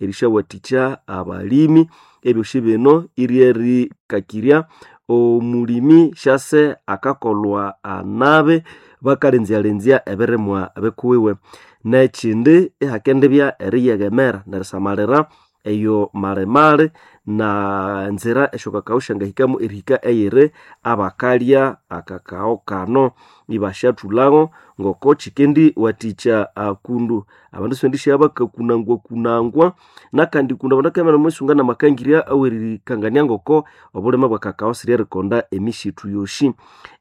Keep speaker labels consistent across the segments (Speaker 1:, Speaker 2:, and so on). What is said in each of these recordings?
Speaker 1: erisyawathikya abalimi. Ebyosi bino iryerikakirya omulimi syase akakolwa anabi bakalenzya-lenzya ebirimwa bikuwiwe. N'ekindi ihakendibya eriyeghemera nerisamalira eyo malimali na nzira esyokakao syangahikamu erihika eyiri abakalya akakao kano ibasyathulhago ngoko kyikendiwathikya akundu. Abandu sibendisya bakakunangwakunangwa nakandi kundu abandu bakabya ibanemusunga namakangirya awerikangania ngoko obulime bwa kakao siryerikonda emisitu yosi.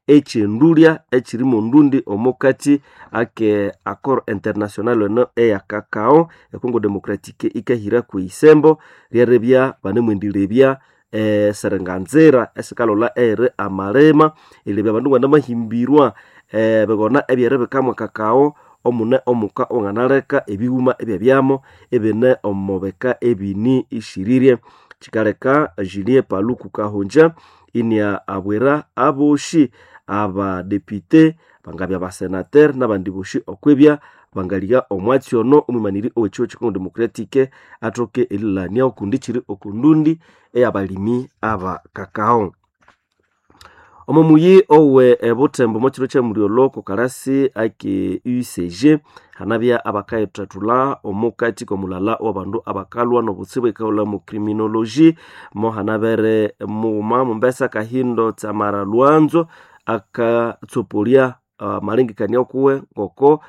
Speaker 1: Ekyendulya ekyiri mondundi omukati ake accord international eno eya kakao e Congo Democratique ikahira kwisembo lyeribya banemwendirebya esiringanzira esikalholha eyiri amalima erilebya abandu banamahimbirwa ebigona ebyeribikamu kakao omune omuka owanganaleka ebighuma ebyabyamo ibine omo bika ebini ishirirye. Kyikaleka Julien Paluku Kahongya inia abwira abosi abadepute bangabya basenateur nabandi bosi okwibya bangalya omwatsi ono omwimaniri owekihugho kye Congo Democratique athoke erilania okundi kiri okundundi eyabalimi aba kakao. Omo muyi owe ebuthembo omwakiro kyamulyolho okokalasi ake UCG hanabya abakayithathulha omukati komulala owabandu abakalhwa nobutsibu ekaghulha mu criminology mo hanabere mughuma Mumbesa Kahindo Tsamara Lwanzo akatsopolya amalengekania kuwe ngoko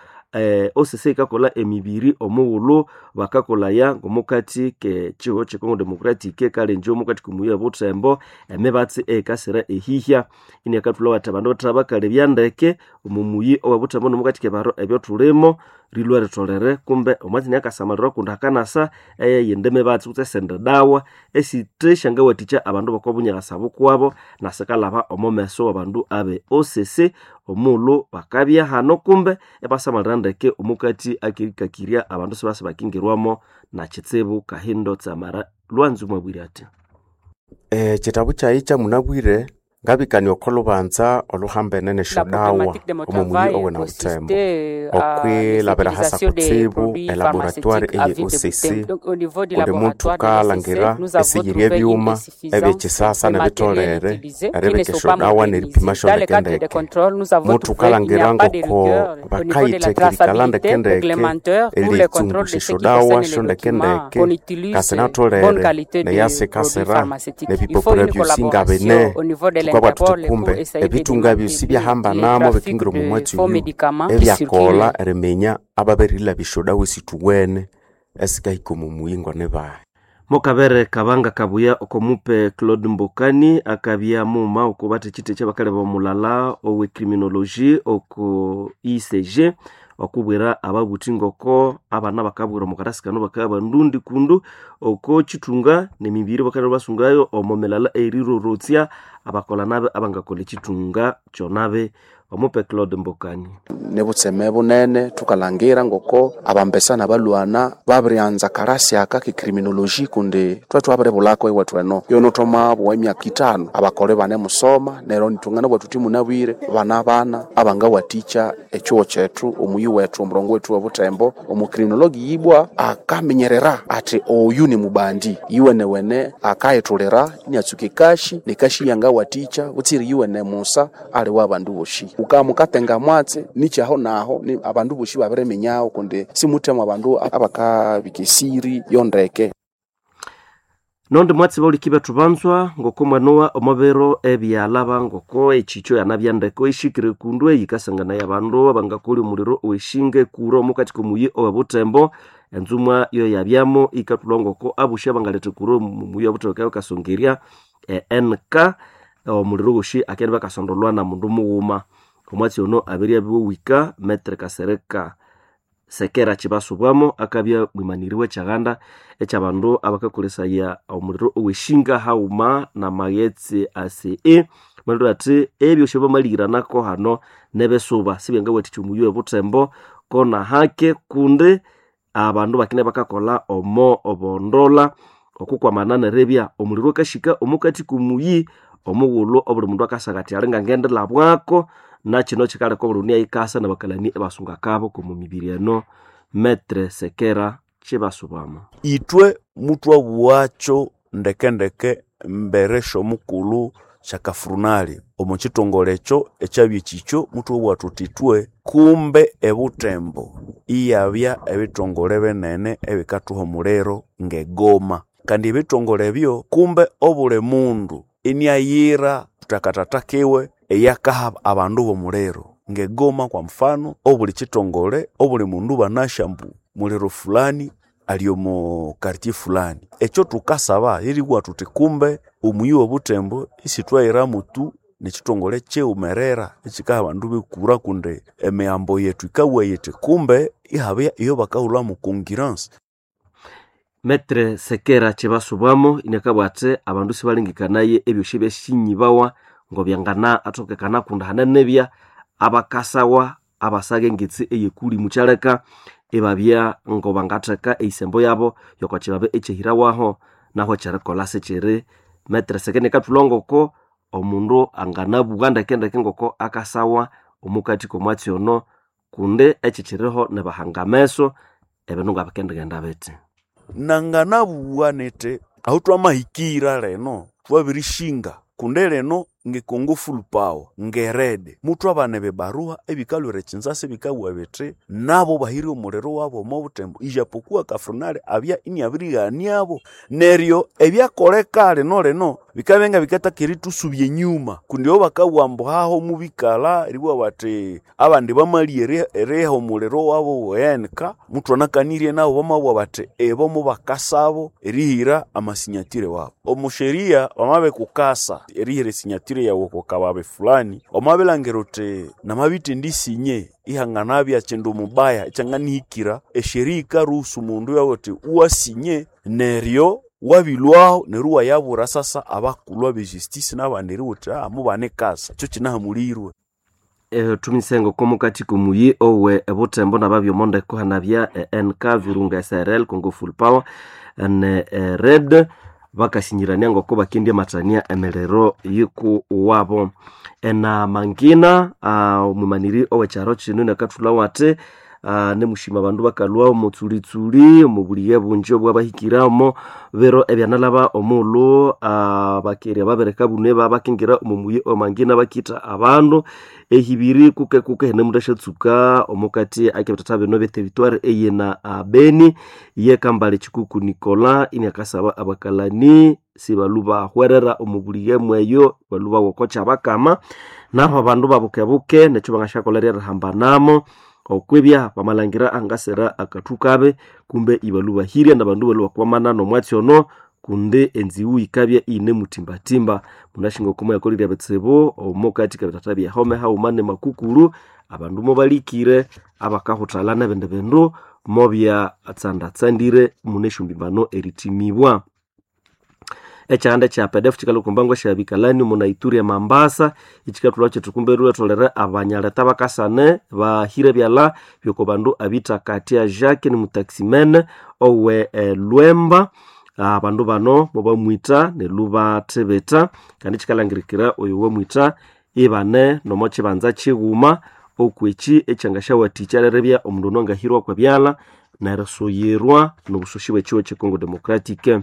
Speaker 1: OCC ikakolha emibiri omughulhu bakakolhaya ngomukati kekihugho kye Congo Democratique kalenje omukati komuyi obuthembo emibatsi eyikasira ehihya iniakathulha athi abandu bathe bakalebya ndeke omo muyi owebuthembo nomukati kebiharo ebyathulimo rilhwa ritholere kumbe omwatsi inakasamalirwa kundi hakanasa eyindi mibatsi kutse esindi dawa esithe syangawathikya abandu boko bunyakasa bukwabo nasikalhaba omo meso wabandu abe OCC omughulhu bakabya hano kumbe ibasamalira ndeke omukati akerikakirya abandu sibasa bakingirwamo nakitsibu. Kahindo Tsamara Lwanzo mwabwire athi
Speaker 2: Ekitabu kyayi kyamunabwire ngabikania oko lubanza oluhambene
Speaker 3: La
Speaker 2: nesyodawa
Speaker 3: problématique de mon
Speaker 2: omo muyi
Speaker 3: travail
Speaker 2: owe Nabuthembo
Speaker 3: consistait à
Speaker 2: okwilabira hasa
Speaker 3: l'utilisation des
Speaker 2: kutsibu
Speaker 3: produits
Speaker 2: elaboratoire
Speaker 3: pharmaceutiques à
Speaker 2: eye
Speaker 3: vie de
Speaker 2: OCC
Speaker 3: Butembo. Donc, au niveau du
Speaker 2: kundi
Speaker 3: laboratoire de
Speaker 2: muthukalangira
Speaker 3: l'OCC, nous avons
Speaker 2: esiyiri
Speaker 3: trouvé une
Speaker 2: ebyuma
Speaker 3: insuffisance
Speaker 2: ebyekisasa
Speaker 3: de matériel
Speaker 2: nebitholere
Speaker 3: utilisé qui ne
Speaker 2: eribika
Speaker 3: sont pas
Speaker 2: esyodawa
Speaker 3: modernisés.
Speaker 2: neripima
Speaker 3: Dans le cadre des
Speaker 2: syondekendeke
Speaker 3: contrôles, nous avons trouvé qu'il n'y a
Speaker 2: muthukalangira
Speaker 3: pas de
Speaker 2: ngoko
Speaker 3: rigueur au niveau de la
Speaker 2: bakayithekirikala
Speaker 3: traçabilité
Speaker 2: ndekendeke
Speaker 3: réglementaire pour le contrôle
Speaker 2: eriyitsungusa
Speaker 3: de ce qui concerne
Speaker 2: esyodawa
Speaker 3: les documents
Speaker 2: syondekendeke
Speaker 3: qu'on utilise
Speaker 2: kasi
Speaker 3: bonne
Speaker 2: natholere
Speaker 3: qualité de produits
Speaker 2: neyasikasira
Speaker 3: pharmaceutiques. Il faut
Speaker 2: nebipapura
Speaker 3: une
Speaker 2: byosi ngabene
Speaker 3: collaboration au niveau de
Speaker 2: thukabwa thuthi
Speaker 3: l'Interpol pour
Speaker 2: kumbe
Speaker 3: essayer de
Speaker 2: ebithunga byosi
Speaker 3: démanteler les
Speaker 2: byahambanamo
Speaker 3: trafics
Speaker 2: bikingira omo
Speaker 3: de
Speaker 2: mwatsi
Speaker 3: faux
Speaker 2: oyu
Speaker 3: médicaments qui
Speaker 2: ebyakolha
Speaker 3: circulent.
Speaker 2: eriminya ababirilabya esyodawa esithuwene esikahika omo muyi ngonibahi.
Speaker 1: Mokabere Kabanga Kabuya okomupe Claude Mbokani akabya mughuma oko bathekyithi ekyabakaleba omulala owe criminology oko ICG okubwira ababuthi ngoko abana bakabwira omukarasi kano bakabya bandundi kundu oko kyithunga nemibiri bakalha basungayo omo milala erirorotsya abakolha nabi abangakolha ekyithunga kyonabi. Omupe Claude Mbokani.
Speaker 4: Nibutseme bunene thukalhangira ngoko abambesa nabalhwana babiryanza karasi aka ke criminology kundi thwe thwabiribulhako ewethu eno yono thwamabugha emyaka ithanu abakole banemusoma neryo nithunganabugha thuthi munabwire bana bana abangawathikya ekyihugho kyethu omuyi wethu omurongo wethu owobuthembo. Omucriminology yibwa akaminyerera athi oyu ni mubandi yiwenewene akayithulira iniatsuka ekashi nekashi yangawathikya butsiri yiwene musa ali wa bandu boshi ukamukatenga mwatsi nikyaho naho ni abandu boshi babiriminyaho kundi simuthemu abandu abakabika esiri yondeke.
Speaker 1: Nondi mwatsi bauliki bethu banzwa ngoko mwanowa omubiro ebyalaba ngoko ekyikyo yanabya ndeko ishikire kundu eyikasanganaya abandu abangakolya omuliro oweshinga ekura omukati komuyi owebuthembo enzumwa yoyabyamo ikathulha ngoko abosi abangaletha ekura omuyi owebuthembo bakabya bakasongerya NK omuliro wosi akende bakasondolwa na mundu mughuma. Omwatsi ono abiryabiwa wika Metre Kasereka Sekera kyibasubwamo akabya mwimaniri wekyaghanda ekyabandu abakakolesaya omuliro oweshinga haghuma namaghetse ACE malhwera athi ebyosi bamaliranako hano nebesuba sibyangawathikya omuyi owebuthembo kona hake kundi abandu bakine bakakolha omo obondola okukwamana neribya omuliro akashika omukati komuyi omughulhu obuli mundu akasagha athi ali ngangendilhabwako nakino kyikaleka obuli mundu inayikasa nabakalani ibasunga akabo komo mibiri eno. Metre Sekera. Chibasubamo.
Speaker 5: Itwe mutwabughacho ndekendeke mbere sy'omukulhu syakafurunali omo kitongole ekyo ekyabya ekikyo mutwabugha thuthi ithwe kumbe ebutembo iyabya ebitongole binene ebikathuha omuliro ng'egoma. Kandi ebitongole ebyo kumbe obuli mundu iniayira thakatata kiwe eyakaha abandu b'omuliro. Ng'egoma kwa mfano obuli kitongole obuli mundu banasya ambu muliro fulani ali omo quartier fulani. Ekyo thukasaba lyeribugha thuthi kumbe omuyi w'obutembo isithwayiramu tu nekitongole kyighumerera ekikaha abandu b'ekura kundi emihambo yethu yikabugha yithi kumbe ihabya eyobakahulhamu concurrence.
Speaker 1: Metre Sekera Chibasubamo inakabugha athi abandu sibalengekanaye ebyosi ebyasinyibawa ngobyangana athokekana kundi hanenebya abakasawa abasaga engitsi eyekulimu kyaleka ibabya ngobangatheka eyisembo yabo yokwakibabe ekyehirawaho naho ekyerikolha sikyiri. Metre Sekera inakathulha ngoko omundu anganabugha ndekendeke ngoko akasawa omukati k'omwatsi ono kundi ekikyiriho nibahanga ameso ebindu ngabikendighenda bithi.
Speaker 5: Nanganabugha nithi ahu twamahikira lino thwabirishinga kundi lino nge Congo Full Power nge RED muthwabana ebibaruha ebikalhwira ekinzasa ebikabugha bithi nabo bahire omuliro wabo omo butembo ijapokuwa kafrunali abya iniabirighaniabo. Neryo ebyakoleka lino lino bikabya ngabikathaka erithusubya enyuma kundi obo bakabugha ambu haho mubikalha eribugha bathi abandi bamalya eriha omuliro wabo wenka muthwanakanirye nabo bamabugha bathi ibo mubakasabo erihira amasinyatire wabo. Omu sheria wamabikukasa erihira esinyatire yawu oko kababi fulani wamabilhangira uthi namabithendisinye ihanganabya kindu mubaya ekyanganihikira esheria yikaruhusu omundu iyabugha uthi iwasinye neryo wabilhwaho neryo iwayabwira sasa abakulhu abe justice nabandi eribugha uthi mubanikasa ekyo kinahamulirwe.
Speaker 1: Thumisenga oko mukati k'omuyi owe ebutembo nababya omondeko hanabya NK Virunga SRL Congo Full Power ne RED bakasinyirania ngoko bakendya emiriro yikuwabo. Ena mangina omwimaniri owekyaro kino inakathulhawo athi nemushima abandu bakalhwa omutsulitsuli omubulighe bungi obwabahikira omo biro ebyanalhaba omughulhu abakerya babireka bune babakingira omo muyi omangina bakitha abandu ehibiri kuke kuke henemuthashatsuka omukati akebithatha bino ebyeterituari eyina Beni ye Kambale Chikuku Nicola iniakasaba abakalani sibalhu bahwerera omu bulighe mweyo balhu bawokokya bakama naho abandu babukebuke nekyo bangasyakolha ryerihambanamo okwibya bamalhangira angasira akathu kabi kumbe ibalhu bahirya nabandu balhu bakwamana nomwatsi ono kundi enziwu yikabya iyinemuthimbathimba. Munashinga oko mwayakolirye ebitsibu omukati kebithatha byehome haghuma nemakukuru abandu mobalikire abakahuthalha nebindi bindu mobyatsandatsandire munesyombibano erithimibwa. Ekyanda ekya PDF kyikalhwa okwambangu esyabikalani omu Naituri e Mambasa ekikathulha kyithi kumbe lwetholere abanyaleta bakasane bahire ebyalha byoko bandu abithakathya Jacques nimutaximene owe Lwemba. Abandu bano mobamwitha neryo bathibitha kandi kyikalhangirikira oyo wamwitha ibane nomo kyibanza kyighuma okwekyi ekyangasyawathikya lyeribya omundu ono angahirwa kwebyalha nerisuyirwa nobusoshi bwekyiwa kye Congo Democratic.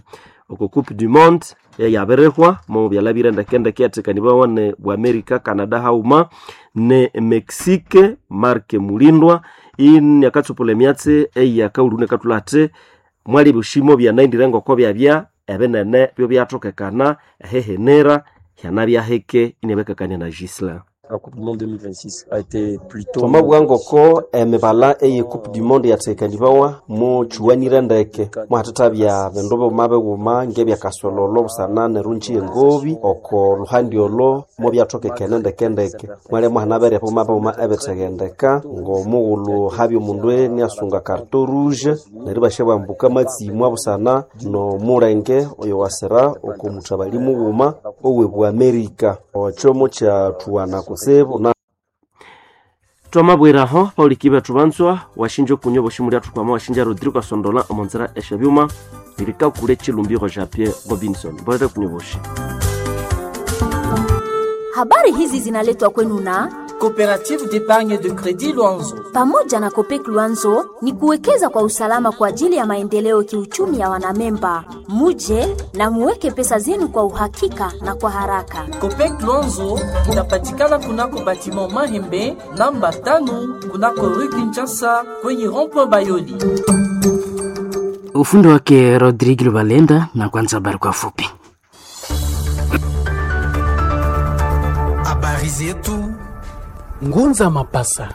Speaker 1: Oko Coupe du Monde eyabirihwa mobyalhabire ndekendeke yathekanibawa ne bwa America, Canada haghuma ne Mexique. Mark Mulindwa iniakatsupulha emyatsi eyakaghulhu inakathulha athi mwali ebyosimo byanaghindire ngoko byabya ebinene byobyathokekana ehihinira hyanabya hike inabakakania na Gislain.
Speaker 6: La Coupe du Monde 2026 a été plutôt
Speaker 1: Twamabugha ngoko emibala eye Coupe du Monde yathekanibawa mukyuwanire ndeke mwahathathabya bindu bighuma bighuma ngebyakasololo busana nerungi engobi oko luhandi olo mubyathokekene ndekendeke mwalya mwahanabere bighuma bighuma ebitheghendeka ng'omughulhu habya omundu iniasunga carton rouge neryo ibasyabwambuka amatsimwa busana n'omulenge oyo wasira oko muthabali mughuma owe bwa Amerika okyo mukyathuwana kutsibu na twamabwiraho pauliki bethu banzwa washinja okunywa boshimuli athukwama washinja Rodrigo Asondola omonzera esyabyuma lirikakule chilumbiro ja Pierre Robinson bolere kunywa boshi.
Speaker 7: Habari hizi zinaletwa kwenu na Coopérative d'épargne de crédit Luanzo.
Speaker 8: Pamoja na Copec Luanzo ni kuwekeza kwa usalama kwa ajili ya maendeleo kiuchumi ya wanamemba. Muje na muweke pesa zenu kwa uhakika na kwa haraka.
Speaker 7: Copec Luanzo inapatikana kunako batiment Mahembe namba 5 kunako Rue Kinshasa kwenye rond-point Bayoli.
Speaker 9: Ufundi wake Rodrigue Lubalenda na kwanza habari kwa fupi.
Speaker 10: Habari zetu Ngunza Mapasa.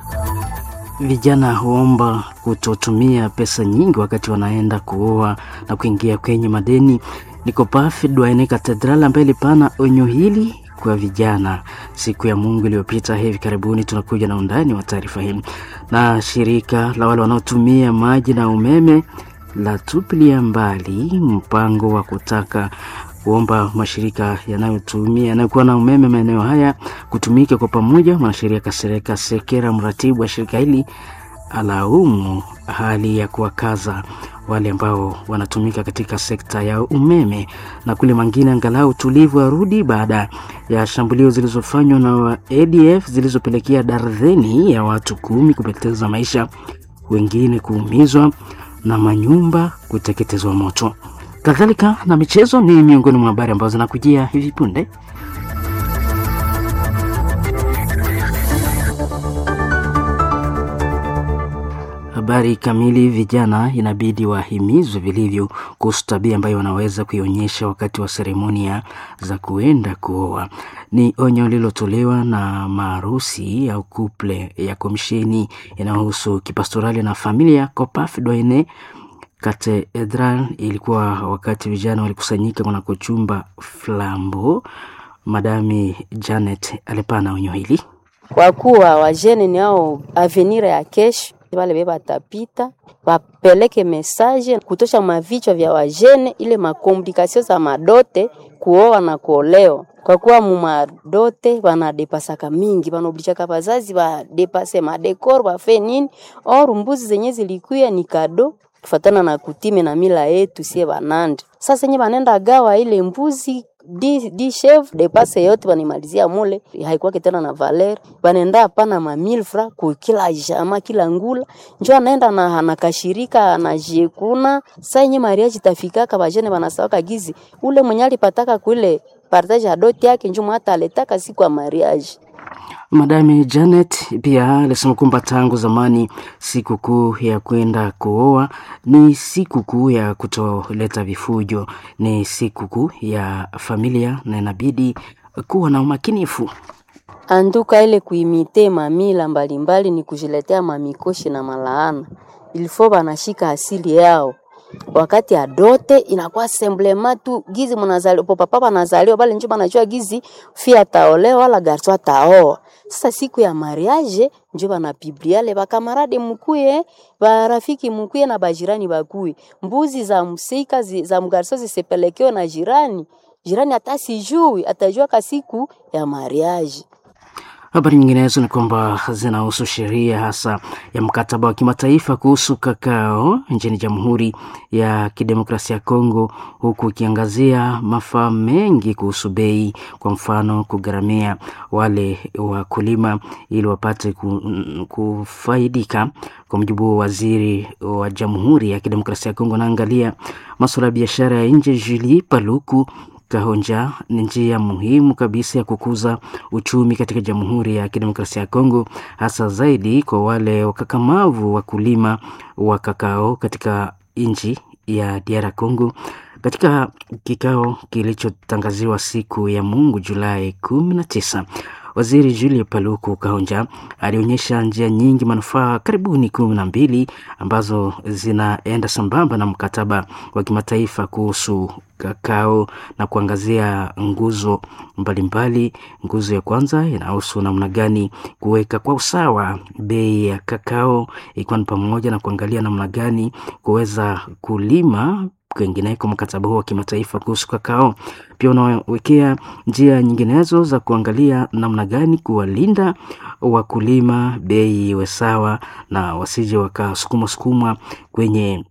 Speaker 9: Vijana huomba kutotumia pesa nyingi wakati wanaenda kuoa na kuingia kwenye madeni. Nikopafi Dwaine Katedral ambaye ilipana onyo hili kwa vijana siku ya Mungu iliyopita hivi karibuni. Tunakuja na undani wa taarifa hii. Na shirika la wale wanaotumia maji na umeme la tupilia mbali mpango wa kutaka kuomba mashirika yanayotumia yanayokuwa na umeme maeneo haya kutumika kwa pamoja. Mwanasheria Kasereka Sekera, mratibu wa shirika hili, alaumu hali ya kuwakaza wale ambao wanatumika katika sekta ya umeme. Na kule mangine, angalau utulivu warudi baada ya shambulio zilizofanywa na ADF zilizopelekea darzeni ya watu 10 kupoteza maisha, wengine kuumizwa na manyumba kuteketezwa moto. Kadhalika na michezo ni miongoni mwa habari ambazo zinakujia hivi punde. Habari kamili. Vijana inabidi wahimizwe vilivyo kuhusu tabia ambayo wanaweza kuionyesha wakati wa seremonia za kuenda kuoa. Ni onyo lililotolewa na maarusi au kuple ya komisheni inayohusu kipastorali na familia COPAF Doine Katedral. Ilikuwa wakati vijana walikusanyika kunako chumba Flambo. Madami Janet alipana onyo hili
Speaker 11: kwa kuwa wajene ni ao avenir ya kesho, wale be batapita bapeleke message kutosha mavichwa vya wajene, ile makomplikasio za madote kuoa na kuolewa, kwa kuwa mumadote banadepasaka mingi, banaoblichaka bazazi badepase madekoro bafe nini, or mbuzi zenye zilikuya ni kado kufatana na kutime na mila yetu sie banande. Sasa nye banenda gawa ile mbuzi di chef depase yote banimalizia mule, haikuwa tena na valer, banenda hapana ma 1000 francs ku kila jama kila ngula, njo anaenda na anakashirika anajekuna. Sasa nye mariage tafikaka bajene banasawaka gizi ule mwenye alipataka kule partage ya dot yake njo mwata aletaka siku ya mariage.
Speaker 9: Madame Janet pia alisema kwamba tangu zamani sikukuu ya kwenda kuoa ni sikukuu ya kutoleta vifujo, ni sikukuu ya familia na inabidi kuwa na umakinifu.
Speaker 11: Anduka ile kuimite mamila mbalimbali ni kujiletea mamikoshi na malaana, ilifo banashika asili yao wakati adote inakuwa semblema tu gizi munazaliwa po papa banazaliwa bale njo banajua gizi fi ataolewa wala garso ataoa. Sasa siku ya mariage njo banapibliale bakamarade mukuye barafiki mukuye na bajirani bakuye, mbuzi za msika zi, za mgarso zisipelekewe na jirani jirani, hata sijui atajua kasiku ya mariage.
Speaker 9: Habari nyinginezo ni kwamba zinahusu sheria hasa ya mkataba wa kimataifa kuhusu kakao nchini Jamhuri ya Kidemokrasia ya Kongo, huku ikiangazia mafaa mengi kuhusu bei, kwa mfano kugharamia wale wakulima ili wapate kufaidika. Kwa mujibu wa waziri wa Jamhuri ya Kidemokrasia ya Kongo anaangalia masuala ya biashara ya nje Julie Paluku Kahonja, ni njia muhimu kabisa ya kukuza uchumi katika Jamhuri ya Kidemokrasia ya Kongo, hasa zaidi kwa wale wakakamavu wakulima wa kakao katika nchi ya DR Congo. Katika kikao kilichotangaziwa siku ya Mungu Julai 19, Waziri Julie Paluku Kahonja alionyesha njia nyingi manufaa karibuni 12 ambazo zinaenda sambamba na mkataba wa kimataifa kuhusu kakao na kuangazia nguzo mbalimbali. Nguzo ya kwanza inahusu namna gani kuweka kwa usawa bei ya kakao, ikiwa ni pamoja na kuangalia namna gani kuweza kulima kwingineko. Mkataba huo wa kimataifa kuhusu kakao pia unawekea njia nyinginezo za kuangalia namna gani kuwalinda wakulima, bei iwe sawa na wasije wakasukumwa sukumwa kwenye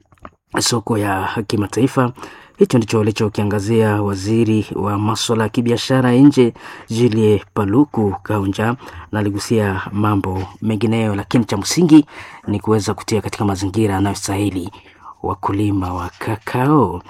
Speaker 9: soko ya kimataifa. Hicho ndicho alichokiangazia waziri wa masuala ya kibiashara nje Julie Paluku Kaunja, na aligusia mambo mengineyo, lakini cha msingi ni kuweza kutia katika mazingira yanayostahili wakulima wa kakao.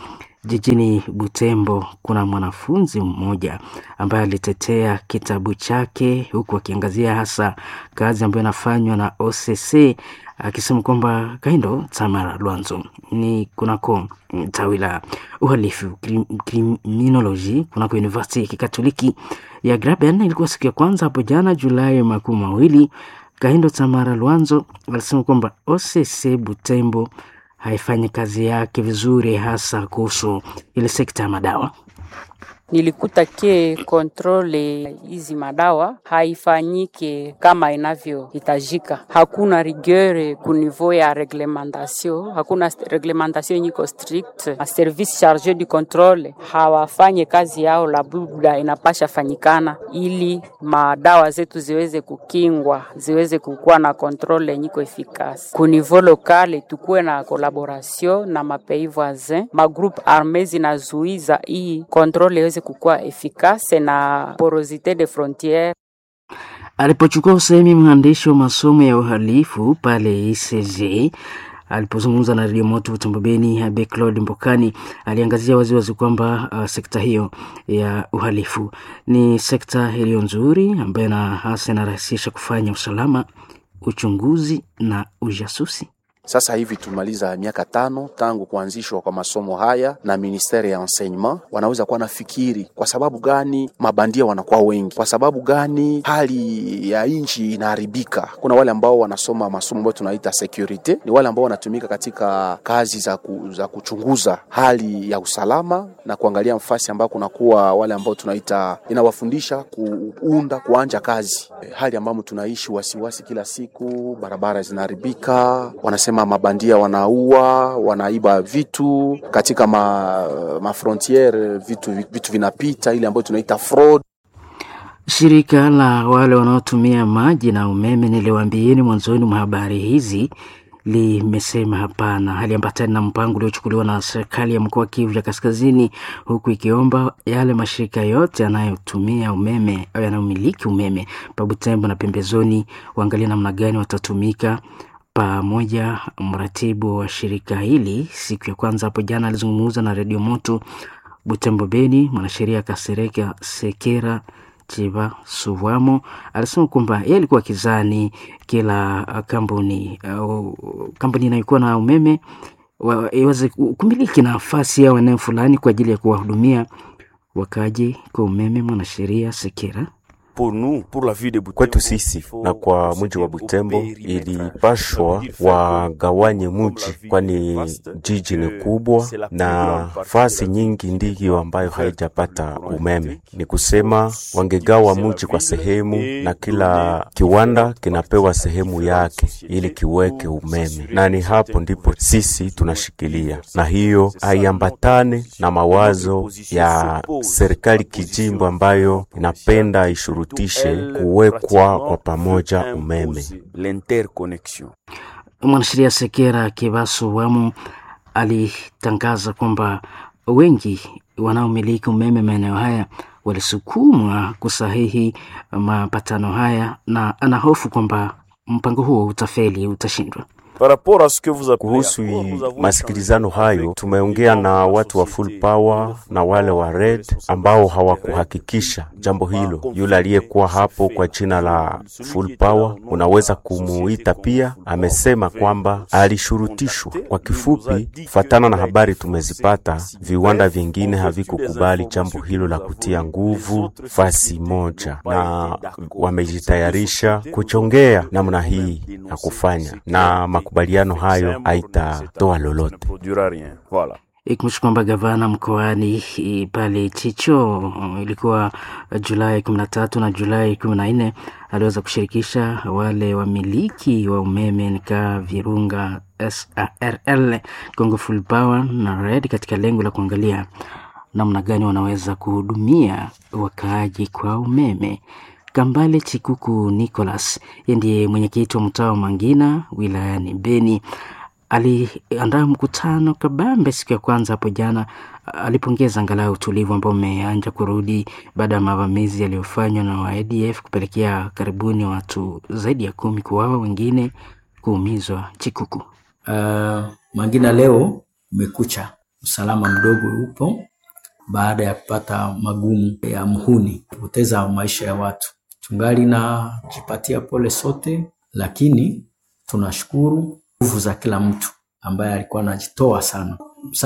Speaker 9: Jijini Butembo kuna mwanafunzi mmoja ambaye alitetea kitabu chake huku akiangazia hasa kazi ambayo inafanywa na OCC akisema kwamba Kaindo Tamara Lwanzo ni kunako tawi la uhalifu criminology kunako University ya Kikatoliki ya Graben. Ilikuwa siku ya kwanza hapo jana Julai 20. Kahindo Tamara Lwanzo alisema kwamba OCC Butembo haifanyi kazi yake vizuri, hasa kuhusu ile sekta ya madawa.
Speaker 3: Nilikuta ke kontrole hizi madawa haifanyike kama inavyohitajika. Hakuna rigueur ku niveau ya reglementation, hakuna reglementation yenye iko strict. Ma service charge du controle hawafanye kazi yao la buda inapasha fanyikana, ili madawa zetu ziweze kukingwa, ziweze kukuwa na kontrole yenye iko efficace. Ku niveau lokale tukuwe na collaboration na mapais voisin, ma groupe arme zinazuiza hii kontrole iweze kukuwa efficace na porosite de frontiere.
Speaker 9: Alipochukua usemi mwandishi wa masomo ya uhalifu pale ICG alipozungumza na Radio Moto Butembo Beni, Abe Claude Mbokani aliangazia waziwazi kwamba sekta hiyo ya uhalifu ni sekta iliyo nzuri ambayo na hasa inarahisisha kufanya usalama, uchunguzi na ujasusi.
Speaker 4: Sasa hivi tumaliza miaka 5 tangu kuanzishwa kwa masomo haya na ministeri ya enseignement, wanaweza kuwa nafikiri kwa sababu gani mabandia wanakuwa wengi, kwa sababu gani hali ya nchi inaharibika. Kuna wale ambao wanasoma masomo ambayo tunaita security, ni wale ambao wanatumika katika kazi za kuchunguza hali ya usalama na kuangalia mfasi ambao kunakuwa wale ambao tunaita inawafundisha kuunda kuanja kazi. Hali ambamo tunaishi wasiwasi kila siku, barabara zinaharibika, wanasema mabandia wanaua, wanaiba vitu katika ma frontiere, vitu vinapita, ile ambayo tunaita fraud.
Speaker 9: Shirika la wale wanaotumia maji na umeme niliwaambieni mwanzoni mwa habari hizi limesema hapana, haliambatani na mpango uliochukuliwa na serikali ya mkoa wa Kivu ya Kaskazini, huku ikiomba yale mashirika yote yanayotumia umeme au yanayomiliki umeme pa Butembo na pembezoni waangalie namna gani watatumika pamoja. Mratibu wa shirika hili siku ya kwanza hapo jana alizungumza na Redio Moto Butembo Beni, mwanasheria Kasereka Sekera Chiba Suwamo alisema kwamba yeye alikuwa kizani kila kampuni au kampuni inayokuwa na umeme iweze kumiliki nafasi yao eneo fulani kwa ajili ya kuwahudumia wakaji kwa umeme. Mwanasheria Sekera:
Speaker 2: Kwetu sisi na kwa mji wa Butembo ilipashwa wagawanye mji, kwani jiji ni kubwa na fasi nyingi ndiyo ambayo haijapata umeme. Ni kusema wangegawa mji kwa sehemu, na kila kiwanda kinapewa sehemu yake ili kiweke umeme, na ni hapo ndipo sisi tunashikilia, na hiyo haiambatane na mawazo ya serikali kijimbo ambayo inapenda ishurutishe kuwekwa kwa pamoja umeme.
Speaker 9: Mwanasheria Sekera Kibasu Wamu alitangaza kwamba wengi wanaomiliki umeme maeneo haya walisukumwa kusahihi mapatano haya, na anahofu kwamba mpango huo utafeli, utashindwa.
Speaker 2: Kuhusu masikilizano hayo, tumeongea na watu wa Full Power na wale wa Red ambao hawakuhakikisha jambo hilo. Yule aliyekuwa hapo kwa jina la Full Power, unaweza kumuita pia, amesema kwamba alishurutishwa. Kwa kifupi, fatana na habari tumezipata, viwanda vingine havikukubali jambo hilo la kutia nguvu fasi moja, na wamejitayarisha kuchongea namna hii ya kufanya na makubaliano hayo haitatoa lolote.
Speaker 9: Ikumbushe kwamba gavana mkoani pale Chicho ilikuwa Julai 13 na Julai 14 aliweza kushirikisha wale wamiliki wa umeme nika Virunga SARL, Congo Full Power na Red katika lengo la kuangalia namna gani wanaweza kuhudumia wakaaji kwa umeme. Kambale Chikuku Nicholas yeye ndiye mwenyekiti wa mtaa wa Mangina wilayani Beni. aliandaa mkutano kabambe siku ya kwanza hapo jana. Alipongeza angalau utulivu ambao umeanza kurudi baada ya mavamizi yaliyofanywa na wa ADF kupelekea karibuni watu zaidi ya 10 kuuawa, wengine kuumizwa. Chikuku
Speaker 12: Mangina leo umekucha, usalama mdogo upo baada ya kupata magumu ya mhuni kupoteza maisha ya watu. Tungali na jipatia pole sote, lakini tunashukuru nguvu za kila mtu ambaye alikuwa anajitoa sana.